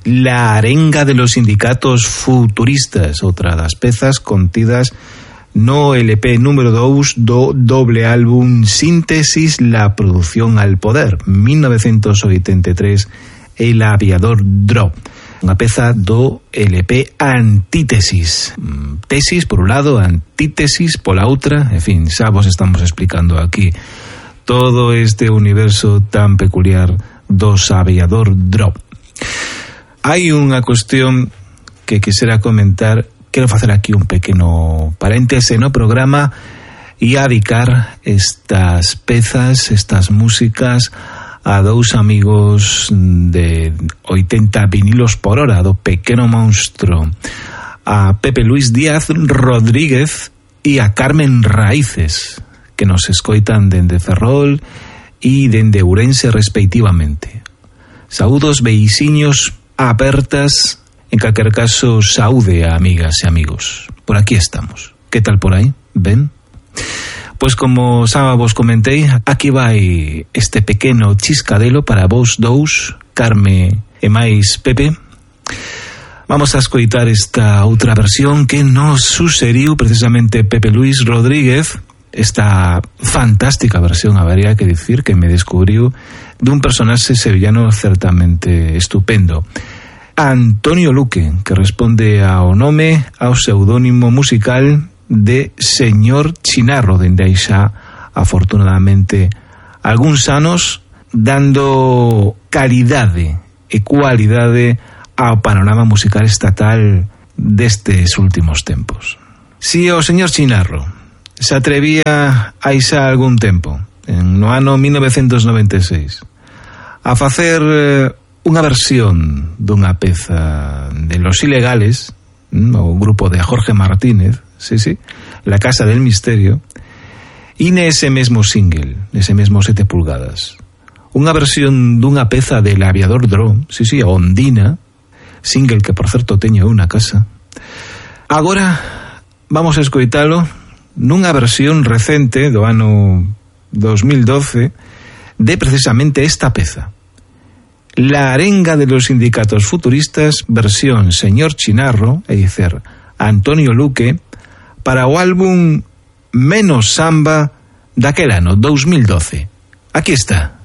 La arenga de los sindicatos futuristas, outra das pezas contidas no LP número 2 do doble álbum Síntesis, la producción al poder, 1983, El aviador Drop, unha peza do LP Antítesis, tesis por un lado, antítesis pola outra, en fin, xa vos estamos explicando aquí todo este universo tan peculiar dos aviador Drop. Hai unha cuestión que quixera comentar. Quero facer aquí un pequeno paréntese no programa e adicar estas pezas, estas músicas a dous amigos de 80 vinilos por hora do pequeno monstro, a Pepe Luis Díaz Rodríguez e a Carmen Raíces, que nos escoitan dende Ferrol e dende Ourense respectivamente. Saúdos, beisiños, apertas, en calquer caso, saúde a amigas e amigos. Por aquí estamos. Que tal por aí? Ben? Pois como xa vos comentei, aquí vai este pequeno chiscadelo para vos dous, Carme e máis Pepe. Vamos a escoitar esta outra versión que nos suseriu precisamente Pepe Luis Rodríguez, esta fantástica versión, habería que dicir, que me descubriu dun personaxe sevillano certamente estupendo, Antonio Luque, que responde ao nome, ao pseudónimo musical de Señor Chinarro, dende aí xa, afortunadamente, algúns anos, dando calidade e cualidade ao panorama musical estatal destes últimos tempos. Si o señor Chinarro se atrevía hai xa algún tempo, no ano 1996, a facer unha versión dunha peza de Los Ilegales, o grupo de Jorge Martínez, sí, La Casa del Misterio, e nese mesmo single, nese mesmo 7 pulgadas, unha versión dunha peza del aviador Drop, sí, Ondina, single que por certo teño unha casa. Agora vamos a escoitalo nunha versión recente do ano 2012 de precisamente esta peza, La arenga de los sindicatos futuristas, versión Señor Chinarro, é dicer, Antonio Luque, para o álbum Menos Samba daquel ano 2012. Aquí está.